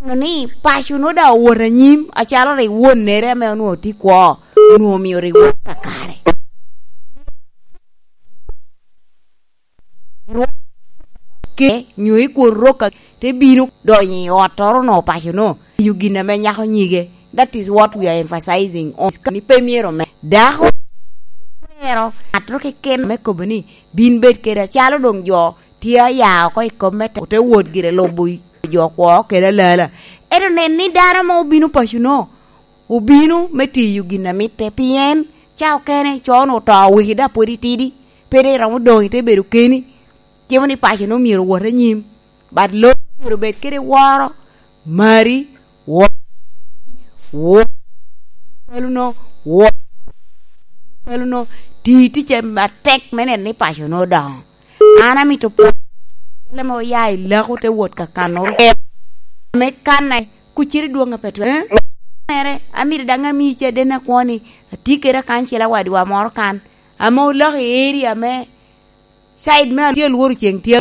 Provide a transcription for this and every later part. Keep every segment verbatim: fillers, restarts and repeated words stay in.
Neno ni paco nwoŋo daŋ owoto anyim, acalo rik wonnere ame onwoŋo tye kwo, onwoŋo omio rik wot kakare. Ke, nyo i kwon rok a-, te bino donyo i ottoro no, paco no, tiyo gin ame nyako nyige. That is what we are emphasizing on. Ni pe myero me. Dako twero ŋattoro keken me kobo ni, "Bin bed kede," acalo doŋ jo tye aya oko i kom me te, ote wot gire lubo jo kwo kede alala. Ento nen ni dano ame obino paco no, obino me tiyo gin a mitte, pien ca okene co-nu oto weki, dok pwod itidi, pe dok iromo doŋ ite bedo keni. Cimo ni paco-nu myero owot anyim, but lo myero obed kede woro, mari, wo, wo, kalo-nu, wo, kalo-nu, ti ticce atek me neno ni paco-nu odoŋo. An amito pwony, ame oya i lako te wot ka kano rwot. Ame kanne, kuciri dwoŋ a pe twe-, eh? Mere, amito daŋ ami caden akwo ni, atye kede akancel awadwa moro kan, ame olako i area me side me tye lworo ceng tye.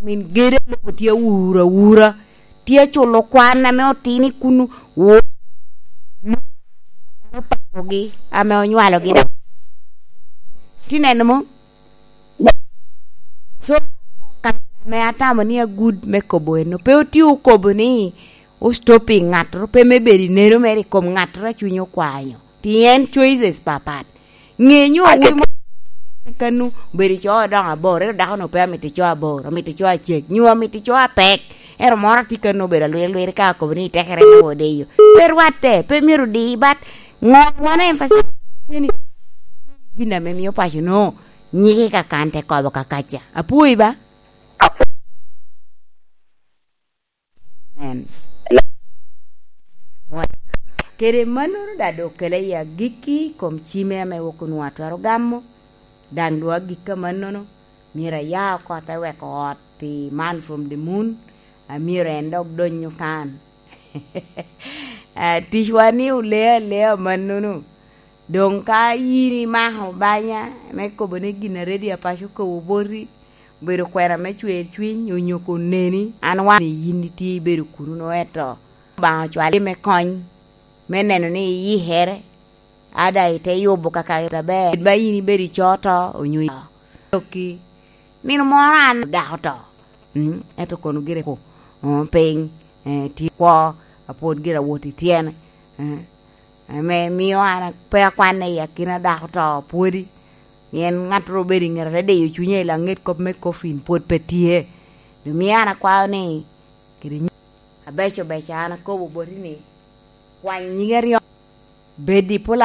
Min gede lobo tye awura awura, tye aculo kwan ame otino i kunu, wo-, opakogi ame onywalogi daŋ. Tye neno mo? So, ka ame atamo ni agud me kobo eno, pe otye okobo ni o stopping ŋattoro, pe me bedo i neno mere i kom ŋattoro a cunye okwanyo. Pien choices papat. Ŋe nyo awobi mo kanu obedo i co doŋo abor, ento dako-nu pe amito i co abor, amito i co acek, nyo amito i co apek. Ento moro atye kanu obedo alwir alwir ka akobo ni tekere me odeyo. Pe rwatte, pe myero odi, but ŋo wan emphasize ni gin ame mio paco no nyiki ka kan te kobo ka kaca. Apwoyi ba? Amen. Kede mannono daŋ doŋ okele i agikki i kom cime ame wok onwoŋo atwero gamo, daŋ doŋ agikki amannono, myero aya oko te weko ot pi Man from the Moon, a myero en dok dony okan. Ah, ticwa ni ole alea amannono. Doŋ ka yin imako banya me kobo ni gin a ready apaco kobo boti, obedo kwena me cwer cwiny onyo ka oneni, an wan ni yin itye ibedo kuno no, ento Obaŋa ocwali me kony, me neno ni iyikere, ada ite yubo kaka aber. Ba yin ibedo i co to, onyo i okki. Nino moro an dako to. Mm, ento kono gire ko, oh, piny, eh, tye kwo, apwod gire awot i tyene. Eh, ame mio an pe akwanne i akina dako to pwodi. Pien ŋattoro obedo i ŋete te diyo cunye i laŋet kop me coffin pwod pe tye. Doŋ mio an akwao ni, kede nyi-, abeco beco an akobo boti ni, kwany nyige aryo, bed i pol